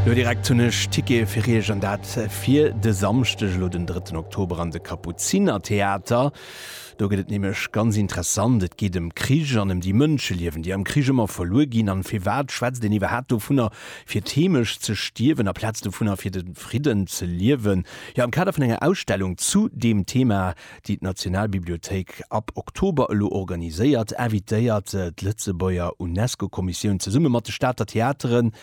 Lo direkt hunn ech Tickete fir iech an dat fir de Samschdeg, elo den drëtten Oktober an de Kapuzinertheater. Do gëtt et nämlech ganz interessant. Et geet ëm Krich an ëm déi Mënscheliewen, déi am Krich ëmmer verluer ginn. An firwat schwätzt een iwwerhaapt dovunner, fir d'Heemecht ze stierwen, aplaz dovunner, fir de Fridden ze liewen? Jo, am Kader vun enger Ausstellung zu deem Thema, déi d'Nationalbibliothéik ab Oktober elo organiséiert, invitéiert d'Lëtzebuerger UNESCO-Kommissioun zesumme mat de Stater Theateren,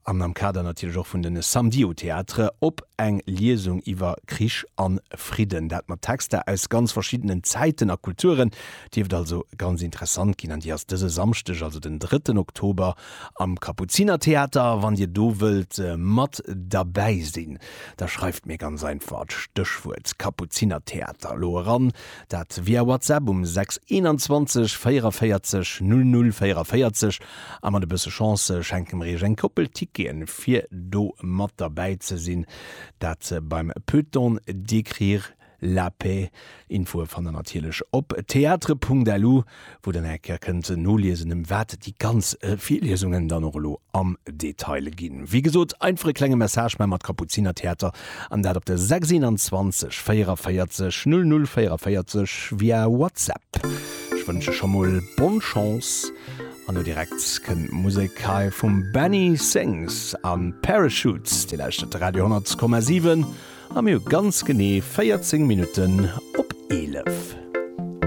an am Kader natierlech och vun den Samedis au Théâtre, op eng Liesung iwwer Krich an Fridden. Dat mat Texter aus ganz verschiddenen Zäiten a Kulturen. Dierft also ganz interessant ginn an déi ass dëse Samschdeg, also den drëtten Oktober, am Kapuzinertheater. Wann Dir do wëllt mat derbäi sinn, da schreift mir ganz einfach d'Stéchwuert Kapuzinertheater elo eran. Dat via WhatsApp um 6 21 44 00 44. A mat e bësse Chance schenke mer iech eng Koppel Ticketen, fir do mat derbäi ze sinn. Dat beim Peut-on décrire la paix? Infoe fannt der natierlech op theatre.lu, wou der nach eng Kéier kënnt noliesen, ëm wat déi ganz Virliesungen dann och elo am Detail ginn. Wéi gesot, einfach e klenge Message maache mat Kapuzinertheater an dat op de 6 21 44 00 44 via WhatsApp. Ech wënsche scho mol bonne Chance an elo direkt kënnt d'Musek hei vum Benny Sings a Parachutes. Dir lauschtert de Radio 10,7 a mir hu ganz genee 14 Minutten op 11.